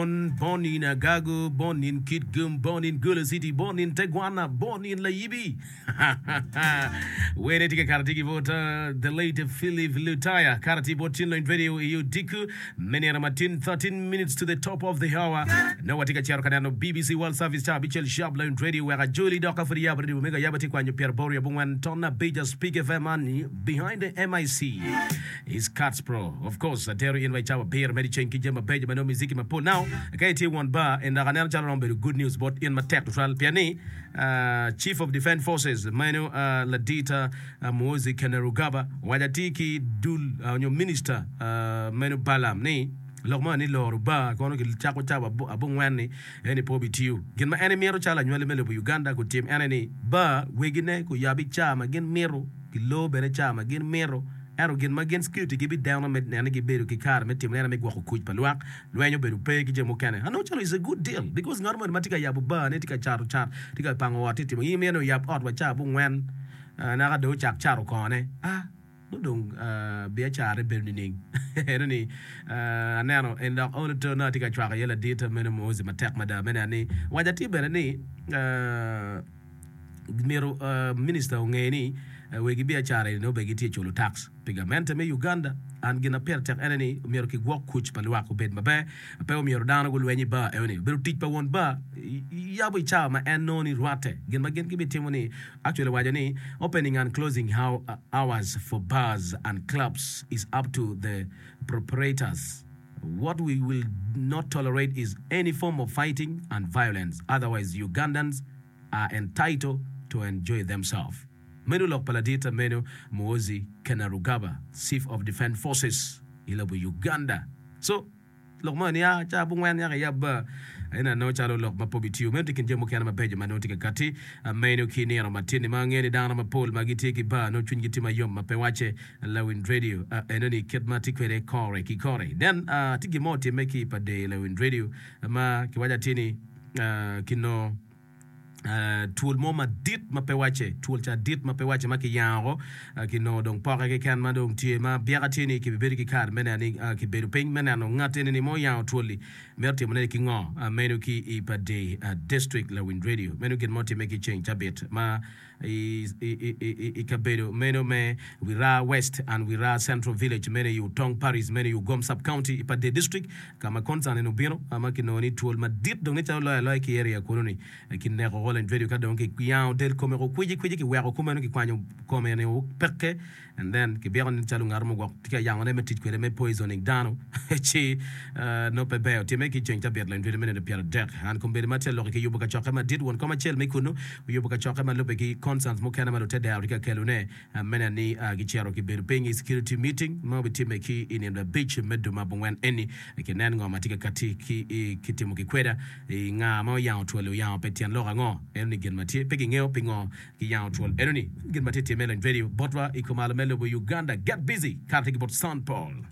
Born in Agago, born in Kitgum, born in Gulu City, born in Tegwana, born in Layibi. Wene tye ka kato tye ki bot uh, the late Philip Lutaya. Kato tye bot Chin Lony Radio i Odiku me nino matin 13 minutes to the top of the hour. No watye ka cito ka neno BBC World Service ca abicel sharp Lony Radio wek ajoli dok ka pud iyabo radio mega ayaba tye kwanyo pyeraboro abongwen ton abic Speak FM man behind the MIC. Is Cats Pro. Of course, atero in wa i cawa abiro medo i ceng ki jami mabeco ma nongo muziki mapol. Now, ka itye won bar, en dok aneno calo romo bedo good news bot in matek tutwal pien ni Chief of Defence Forces meno ladit Muhoozi Kainerugaba owaco atir ki dul nyo minister meno Balaam ni lok mo ni loro bar kono kicako cawa abongwen-ni eni pe obitiyo. Gin ma en emito calo anywali me lobo Uganda gutim en aye ni bar wegine guyabi ca ma gin mito Gilor bene ca ma gin mito, ento gin ma gin security gibideno me neno ni gibedo ki kare me timo neno me gwoko kuc pa lwak, lweny obedo pe ki jami mukene. Anongo calo is a good deal because ngat moni ma tye ka yabo bar ne tye ka cato cat, tye ka pango ot tye ka timo in imito ni oyab ot wa ca abongwen naka dong ocak cato kongo ne ah nongo dong biacara ne bedo nining? Eno ni aneno en dok olo to nongo atye ka cwako iye ladit meno Muhoozi matek mada me neno ni waco atir bene ni Myero minista onge ni wegi biacara eni nongo bene gitye culo tax pi gamente me Uganda and gin ma pire tek ene ni myero kigwok kuc pa lwak obed maber pe omyero dano gulweny i bar eno ni obedo tic pa won bar yabo i cawa ma en nongo ni rwate gin ma gin gibitimo ni actually owaco ni opening and closing hours for bars and clubs is up to the proprietors what we will not tolerate is any form of fighting and violence otherwise Ugandans are entitled to enjoy themselves. Meno lok pa ladit meno Muhoozi Kainerugaba, Chief of Defence Forces i lobo Uganda. So, lok mo ni a ca abongwen yaka iyab bar ena nongo calo lok ma pe obitiyo. Meno tye kin jami mukene mabeco ma nongo tye ka kati meno ki nino matin-ni ma angeyo ni dano mapol ma gitye ki bar nongo cwinygi tye mayom ma pe wacce. Lawiny Radio eno ni kit ma tye kwede kore ki kore. Then tye gin mo otimme ki i pa Dee Lawiny Radio ma kiwaco atir ni kinongo twol mo madit ma pe wacce, twol ca dit ma pe wacce ma kiyango woko, kinongo dong poke keken ma dong tye ma byeka tye ni kibibedo ki kare me neno ni kibedo piny me neno ngat eni-ni ma oyango twol-li mito timone ki ngo meno ki i Padee District Lawiny Radio. Meno gin ma otimme ki ceng cabit ma i kabedo meno me Wiraa West and Wiraa Central Village meno i Utong Parish meno i Ugom Sub-County i Pader District ka ma concern eni obino ma kinongo ni twol madit dong nen calo loyo aloya ki area kunu ni kineko Holland Radio ka dong kiyango del kome ko kwici kwici kiweko kumeno kikwanyo kome ni peke And then kibyeko nen calo ngat mo gwok tye ka yangone me tic kwede me poisoning dano ci nongo pe ber. Otimme ki ceng cabit leng dwede me nino 30. An kombeddi ma atye ka lok ki yubo kacokke madit, won kom acel me kunnu oyubo kacokke ma lubbe ki concerns mukene ma lutedero tye ka kelone me neno ni gicito gibedo piny i security meeting ma obitimme ki i nino abic me dwe me abongwen eni kinen ngo ma tye ka katti ki kitimo ki kweda i nga ma oyango twol oyango pe tyen lok ango eno ni gin ma tye pe kingeyo pingo Giyango twol eno ni gin ma tye time lony vedio botwa i kumalo me lobo Uganda. Get busy kare tye ki bot Sean Paul.